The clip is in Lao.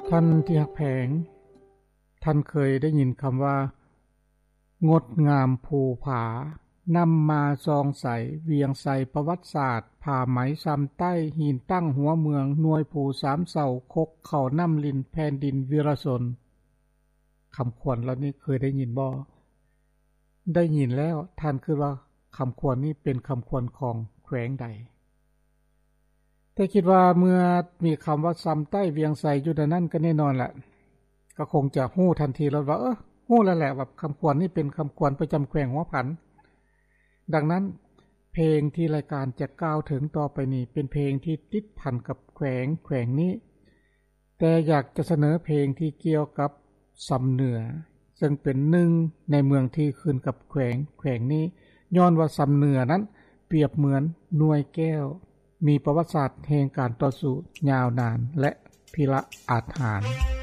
ທ່ານທີ່ຮັກແພງ, ທ່ານເຄີຍໄດ້ຍິນຄຳວ່າ ງົດງາມພູຜາ, ນຳມາສ່ອງໃສ, ວຽງໄຊປະຫວັດສາດ, ຜ້າໄໝຊຳໃຕ້, ຫີນຕັ້ງຫົວເມືອງ, ໜ່ວຍພູສາມເສົາ, ຄົກເຂົ້ານ້ຳລິນ, ແຜ່ນດິນວິລະຊົນ. ຄຳຂວັນເຫຼົ່ານີ້ເຄີຍໄດ້ຍິນບໍ່? ໄດ້ຍິນແລ້ວ ທ່ານຄິດວ່າຄຳຂວັນນີ້ເປັນຄຳຂວັນຂອງແຂວງໃດ? ແຕ່ຄິດວ່າເມື່ອມີຄຳວ່າຊຳໃຕ້ວຽງໄຊຢູ່ໃນນັ້ນ ກໍແນ່ນອນແຫຼະ ກໍຄົງຈະຮູ້ທັນທີໂລດວ່າ ເອີ ຮູ້ແລ້ວແຫຼະວ່າຄຳຂວັນນີ້ເປັນຄຳຂວັນປະຈຳແຂວງຫົວພັນ. ດັ່ງນັ້ນ ເພງທີ່ລາຍການຈະກ່າວເຖິງຕໍ່ໄປນີ້ ເປັນເພງທີ່ຕິດພັນກັບແຂວງ ແຂວງນີ້. ແຕ່ຢາກຈະສະເໜີເພງທີ່ກ່ຽວກັບຊຳເໜືອ ເຊິ່ງເປັນໜຶ່ງໃນເມືອງທີ່ຂຶ້ນກັບແຂວງ ແຂວງນີ້ ຍ້ອນວ່າຊຳເໜືອນັ້ນປຽບເໝືອນໜ່ວຍແກ້ວ ມີປະຫວັດສາດແຫ່ງການຕໍ່ສູ້ຍາວນານ ແລະ ພິລະອາດຫານ.